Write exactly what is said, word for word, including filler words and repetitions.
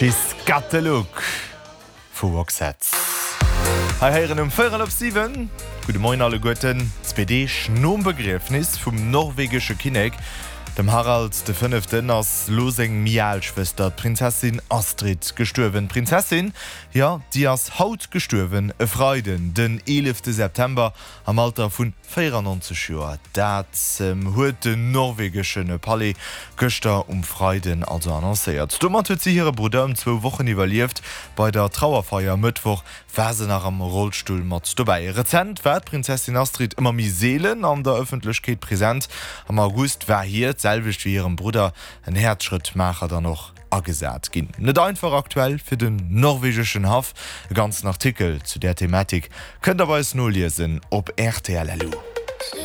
She's Got the Look vu Roxette. Hei héieren um véierel op siwen. Gudde Moien alleguerten. Zwee Deeg nom Begriefnis vum norwegesche Kinnek, dem Harald de Fënneften, ass lo seng méi al Schwëster, d'Prinzessin Astrid, gestuerwen. D'Prinzessin, jo, déi ass haut gestuerwen, e Freiden, den eelefte September, am Alter vu véierannonzeg Joer. Dat huet den norwegesche Palais gëschter um Freiden also annoncéiert. Domat huet si hire Brudder ëm zwou Wochen iwwerlieft. Bei der Trauerfeier e Mëttwoch war se nach am Rollstull mat dobäi. Rezent war d'Prinzessin Astrid ëmmer méi seelen an der Ëffentlechkeet present. Am August war hir, d'selwecht wéi hirem Brudder, en Häerzschrëttmaacher dann och agesat ginn. Net einfach aktuell fir den norwegeschen Haff. E ganzen Artikel zu där Thematik kënnt der bei eis noliesen op rtl. Lu.